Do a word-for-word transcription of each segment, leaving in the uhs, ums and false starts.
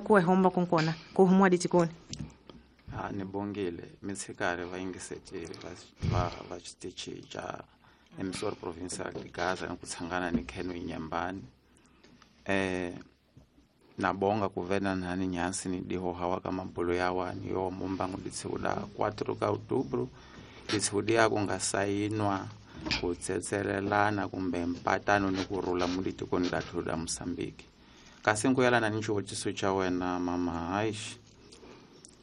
Ku homba konkona ku humwa ditikoni. Ha ni bongile mitshikari va yingisetile va va va xitichi xa Emissora Provincial de Gaza ni ku tshangana ni Kheno Inyambani. Eh na bonga ku vena nhani nyansi ni diho hawa ka mabulo ya wani yo mumbangu ditshuda quatro ka outubro ditshuda ya ku nga sayinwa ku tsetselelana kumbe mpatano ni ku rhula mu ditikoni la thuda Mozambique. Kasi nkuyelana ni xivutiso xa wena mama haish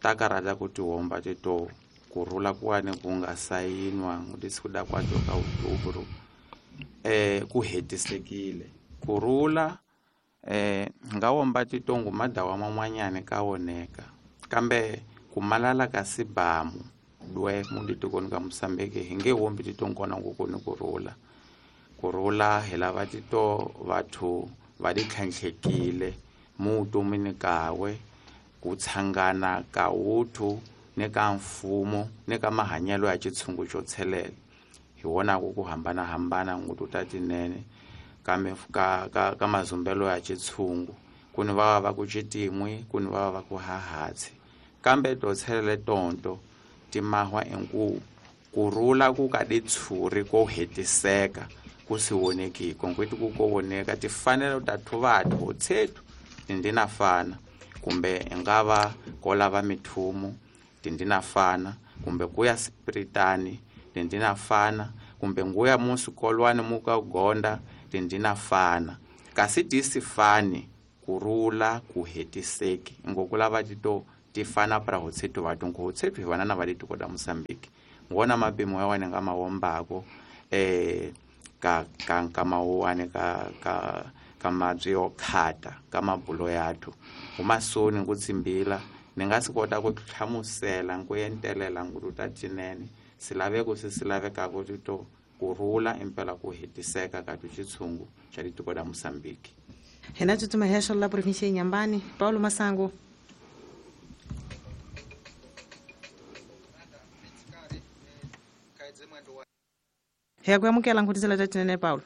ta karata ku tihomba tito ku rhula kuwani ku nga sayinwa ditshuda quatro ka outubro eh ku hetisekile ku rhula eh nga womba titongo madawa man'wanyana ka woneka kambe ku malala ka sibamu dwe mu ditikoni ka Mozambique hi nge wombi titongona ku ku ni ku rhula ku rhula hi lava tito vathu va di tlhantlhekile mu vutomini kawe ku tshangana ka wuthu ni ka mfumo ni ka mahanyelo ya xitshungu xo tshelela hi wona ku ku hambanahambana ngutu ta tinene kambe ka ka ka mazumbelo ya xitshungu ku ni va va ku xitin'we ku ni va va ku hahatsi kambe to tshelele tonto timahwa enku ku rhula ku ka ditshuri ko hetiseka ku si voneki konkweti ku ko voneka tifanelo ta thuvathu tshetu tindina fana kumbe nga va ko lava mithumu tindina fana kumbe ku ya spiritani tindina fana kumbe nguya musikolwani muka gonda tindina fana kasi tisifani kurula ku hetiseki ngokulava tito tifana para hotsetu vathu ngotsetu hi vana na va ditiko da Mozambique ngona mapimo ya wena nga mawombako eh ka ka ka mawuwane ka ka ka mabyi yo khata ka mabulo yathu umasoni ngutsimbila ni nga si kota ku hlamusela ku entelela nguluta tinene silaveko se silavekako tito ku rhula impela ku hetiseka ka xitshungu xa ditiko da Mozambique. Hina tsutsuma hexo la província ya Inhambane, Paulo Massango. Hi ku amukela nkhutisela ta tinene Paulo.